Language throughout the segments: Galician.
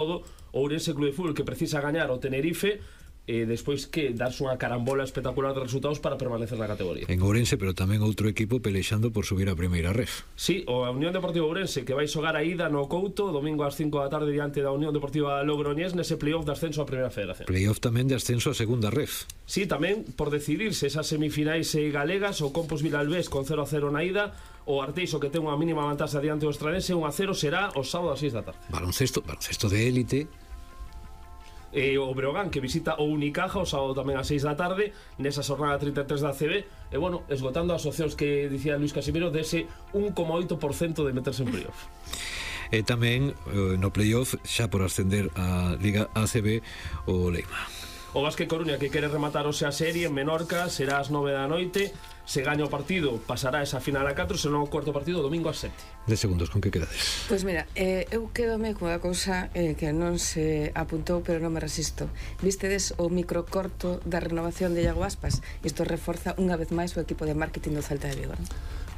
todo o Ourense Club de Fútbol, que precisa gañar o Tenerife despois que darse unha carambola espectacular de resultados para permanecer na categoría. En Ourense, pero tamén outro equipo pelexando por subir a primeira ref. Sí, o Unión Deportiva Ourense, que vai xogar a ida no Couto domingo ás 5 da tarde diante da Unión Deportiva Logroñés nese playoff de ascenso á Primeira Federación. Playoff tamén de ascenso á Segunda Ref. Sí, tamén por decidirse esas semifinais galegas, o Compos Vilalbés con 0-0 na ida, o Arteixo, que ten unha mínima vantaxe diante do Estranense, 1-0 será o sábado ás 6 da tarde. Baloncesto de élite. O Breogán, que visita o Unicaja o sábado tamén ás 6 da tarde nesa xornada 33 da ACB, e bueno, esgotando as opcións que dicía Luis Casimiro dese 1,8% de meterse en playoff. E tamén no playoff, xa por ascender a Liga ACB, o Leima. O Vázquez Coruña, que quere rematar o sea serie en Menorca, será ás 9 da noite. Se gaña o partido, pasará esa final a 4, senón o cuarto partido domingo ás 7. 10 segundos, con que quedades? Pois mira, eu quedome cunha cousa que non se apuntou, pero non me resisto. Vistedes o microcorto da renovación de Iago Aspas? Isto reforza unha vez máis o equipo de marketing do Celta de Vigo, non?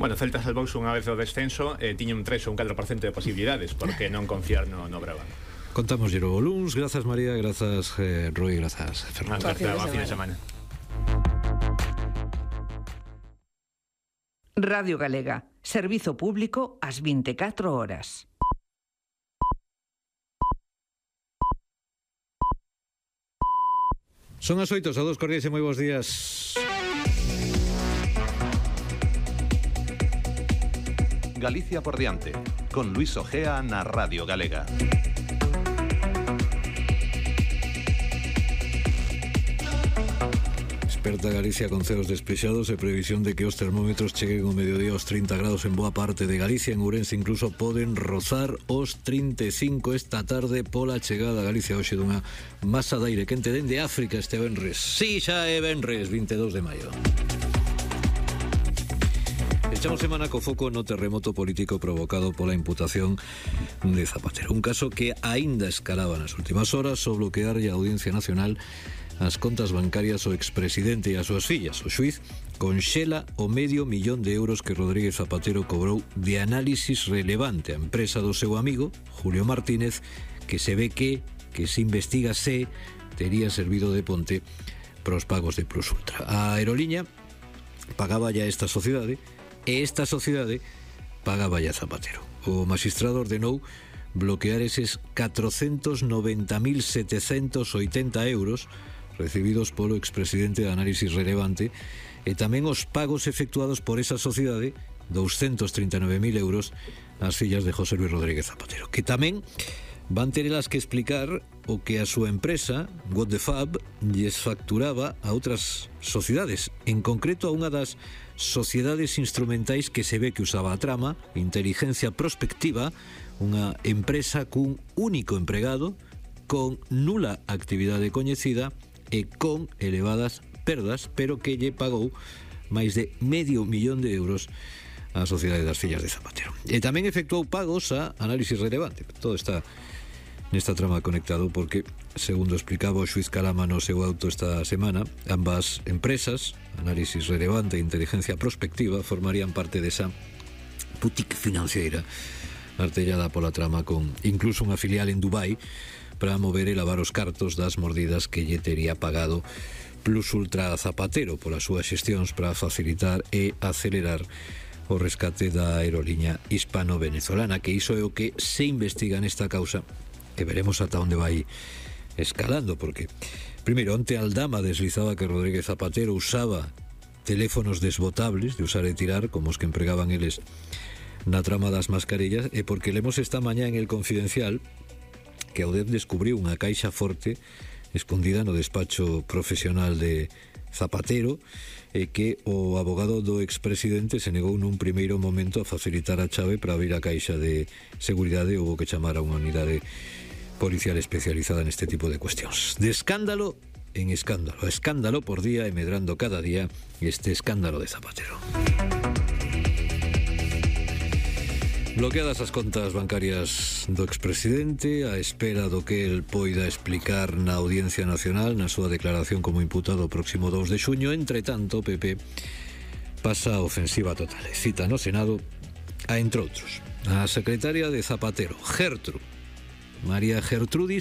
Bueno, Celta salvouse unha vez do descenso, tiña un 3 ou un 4% de posibilidades, porque non confiar no Breogán. Contamos o luns. Grazas María, grazas Rui, grazas Fernando. Hasta a fin de semana. Radio Galega, servizo público ás 24 horas. Son as 8, saúdos cordiais e moi bons días. Galicia por diante, con Luis Ojea na Radio Galega. Desperta Galicia con ceos despexados e previsión de que os termómetros cheguen ao mediodía aos 30 grados en boa parte de Galicia. En Ourense incluso poden rozar os 35 esta tarde pola chegada a Galicia hoxe dunha masa de aire quente dende África este venres. Si, xa é venres, 22 de maio. Echamos semana co foco no terremoto político provocado pola imputación de Zapatero. Un caso que aínda escalaba nas últimas horas ao bloquearlle a Audiencia Nacional as contas bancarias ao expresidente e as súas fillas. O xuiz conxela o €500.000 que Rodríguez Zapatero cobrou de análisis relevante á empresa do seu amigo, Julio Martínez, que se ve que se investiga se tería servido de ponte pros pagos de Plus Ultra. A aeroliña pagaba ya esta sociedade e esta sociedade pagaba ya Zapatero. O magistrado ordenou bloquear eses 490.780 euros recibidos polo expresidente de análisis relevante e tamén os pagos efectuados por esa sociedade, 239.000 euros, ás fillas de José Luis Rodríguez Zapatero, que tamén van ter elas que explicar o que a súa empresa, What the Fab, lles facturaba a outras sociedades, en concreto a unha das sociedades instrumentais que se ve que usaba a trama, Inteligencia Prospectiva, unha empresa cun único empregado, con nula actividade coñecida e con elevadas perdas, pero que lle pagou máis de €500.000 á Sociedade das Fillas de Zapatero. E tamén efectuou pagos a análisis relevante. Todo está nesta trama conectado porque, segundo explicaba o xuiz Calama no seu auto esta semana, ambas empresas, análisis relevante e inteligencia prospectiva, formarían parte desa boutique financiera artellada pola trama con incluso unha filial en Dubai para mover e lavar os cartos das mordidas que lle tería pagado Plus Ultra a Zapatero polas súas xestións para facilitar e acelerar o rescate da aeroliña hispano-venezolana, que iso é o que se investiga nesta causa, que veremos ata onde vai escalando, porque primeiro, onte Aldama deslizaba que Rodríguez Zapatero usaba teléfonos desbotables de usar e tirar, como os que empregaban eles na trama das mascarillas, e porque lemos esta mañá en El Confidencial que Audef descubriu unha caixa forte escondida no despacho profesional de Zapatero e que o abogado do expresidente se negou nun primeiro momento a facilitar a chave para abrir a caixa de seguridade. Houbo que chamar a unha unidade policial especializada neste tipo de cuestións. De escándalo en escándalo, a escándalo por día e medrando cada día este escándalo de Zapatero. Bloqueadas as contas bancarias do expresidente a espera do que el poida explicar na Audiencia Nacional na súa declaración como imputado o próximo 2 de xuño. Entre tanto, o PP pasa a ofensiva total. Cita no Senado a, entre outros, a secretaria de Zapatero, Gertrude, María Gertrudis